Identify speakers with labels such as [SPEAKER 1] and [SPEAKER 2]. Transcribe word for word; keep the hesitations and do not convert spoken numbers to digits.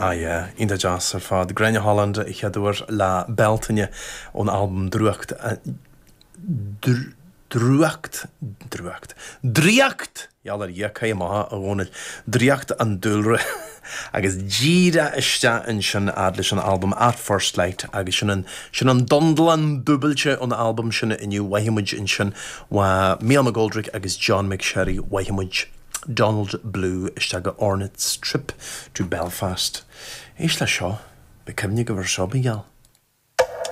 [SPEAKER 1] Ah yeah, iontach deas ar fad. Gráinne Holland a chéaduair le Bealtaine ón albam Drúcht Drúcht Drúcht Draíocht Gheall ar Dhia amach a Dhónaill Draíocht an Dúlra agus díreach isteach ansin fhad leis an albam At First Light agus sin an sin an dundlan dúbailte ón albam sin inniu mhaithimid ansin wa Mícheál McGoldrick agus John McSherry mhaithimid Donald Blue isteach go Ornette's Trip to Belfast. Éist le seo, be cuimhne go bhar seo gheall.